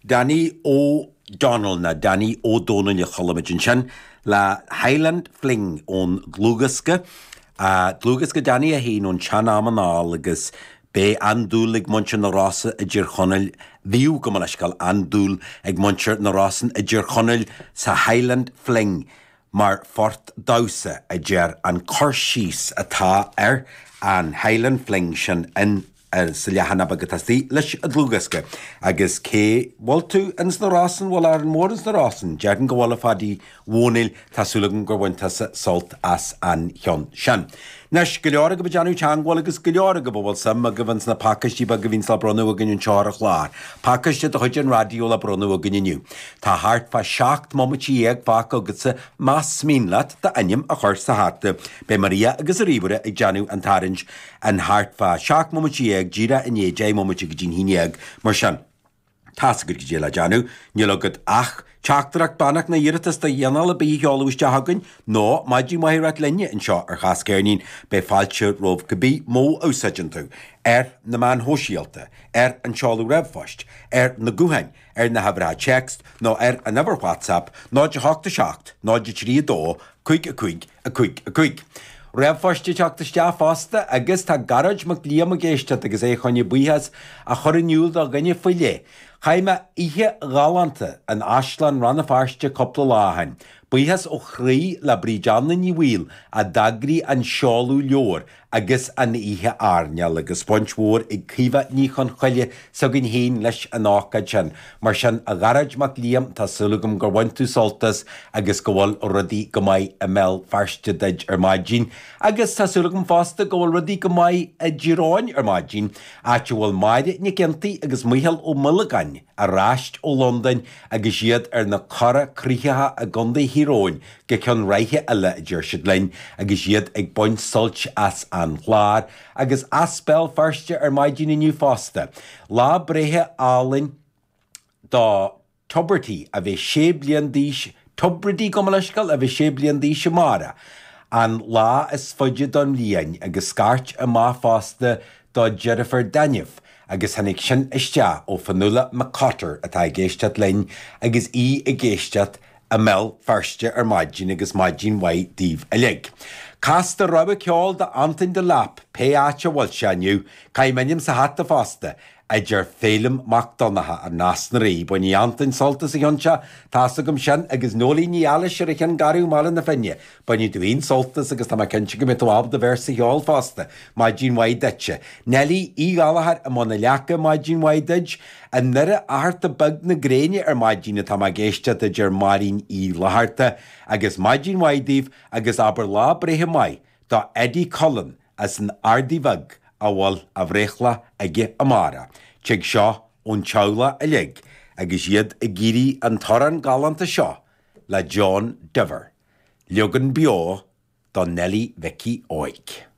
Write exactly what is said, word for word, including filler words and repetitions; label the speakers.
Speaker 1: Danny O'Donnell ná Danny Ó Dónaill a chuala muid ansin le Highland Fling ón dlúthdhiosca. Dlúthdhiosca Danny é féin ón tsean-am anall agus beidh an-dúil ag muintir na Rosa i dTír Chonaill, bhíodh, gabh mo leithscéal, an-dúil ag muintir na Rosann i dTír Chonaill sa Highland Fling mar phort damhsa, a deir an cur síos atá ar an Highland Fling sin in sa leathanach beag atá istigh leis an dlúthdhiosca. Agus cé bhfuil tú ins na Rosann, bhfuil Árainn Mhór ins na Rosann? Déarfainn go bhfuil a Phadaí Dhónaill, tá súil agam gur bhain tusa sult as an cheann sin. Anois, go leor agaibh ag déanamh teangmháil agus go leor agaibh a bhfuil suim agaibh ins na pacáistí beaga a bhíonns le bronnadh againn anseo ar an chlár. Pacáiste de chuid an raidió le bronnadh againn inniu. Tá thart fá seacht mbomaite dhéag fágtha agatsa más mian leat d'ainm a chur sa hata. Beidh Maria agus a ríomhaire ag déanamh an tarraingt in thart fá seacht mbomaite dhéag, díreach i ndiaidh deich mbomaite go dtí'n haon dhéag, mar sin. Tá's agat goidé le déanamh, níl agat ach teachtaireacht, beannacht nó iarratas de chineál ar bith a sheoladh isteach chugainn, nó maidin mhaith a ráit linne anseo ar Chas Ceirnín, beidh fáilte romhat cibé modh a úsáideann tú, ar na meáin shóisialta, ar an seoladh ríomhphoist, ar na gutháin, ar na huimhreacha téacs nó ar an uimhir WhatsApp, náid a hocht a seacht, náid a trí a dó, cúig a cúig, a cúig a cúig. Ríomhphost ag teacht isteach fosta agus tá Gearóid Mac Liam ag éisteacht agus é chun a bhuíochas a chur in iúl do dhuine faoi leith. Chaith mé oíche ghalánta in Áislann Rann na Feirste cúpla lá ó shin. Buíochas ó chroí le Bríd Anna Ní Bhaoill a d'eagraigh an seoladh leabhar agus an oíche airneáil agus baint mhór ag Caoimhe Ní Chonchoille s'againn féin leis an ócáid sin. Mar sin, a Ghearóid Mac Liam, tá súil agam gur bhain tú sult as agus go bhfuil rudaí go maith i mBéal Feirste duit ar maidin. Agus tá súil agam fosta go bhfuil rudaí go maith i dTír Eoghain ar maidin, áit a bhfuil Máire Nic Fhionntaigh agus Micheál Ó Muilleagáin ar ais ó Londain agus iad ar na cora cruthaitheacha i gContae Thír Eoghain go ceann ráithe eile, a deir siad linn, agus iad ag baint suilt as an chlár agus as Béal Feirste ar maidin inniu fosta. Lá breithe álainn do Tubridy a bheidh sé bliain d'aois, Tubridy gabh mo leithscéal, a bheidh sé bliain d'aois amárach, an lá is faide don bhliain agus scairt amach fosta do dheirfiúr Daniff agus tháinig sin isteach ó Fionnuala McCotter atá ag éisteacht linn agus í ag éisteacht i mBéal Feirste ar maidin agus maidin mhaith daoibh uilig. Cas do rogha ceoil do Antain Delap, pé áit a bhfuil sé inniu, caith m'ainm sa hata fosta, a deir Féilim Mac Donncha as Nás na Rí. Bainfidh Antain sult as an cheann seo, tá's agam sin, agus Noeleen Ní Ealais ar an Cheann Garbh i mBaile na Finne. Bainfidh tú féin sult as agus tá mé cinnte go mbeidh tú ábalta véarsa a cheol fosta. Maidin mhaith duitse. Neilí Uí Ghallchóir i mbun na leaca, maidin mhaith duit. I nDoire Fhatharta Beag na gréine ar maidin atá mé ag éisteacht a deir Máirín Uí Fhlatharta agus maidin mhaith daoibh agus abair lá breithe maith do Eddie Cullen as an Ardaidh Bheag a bhfuil a bhreithlá aige amárach. Tig seo ón teaghlach uilig agus iad ag iarraidh an t-amhrán galánta seo le John Diver, leagan beo do Neilí Mhicí Óig.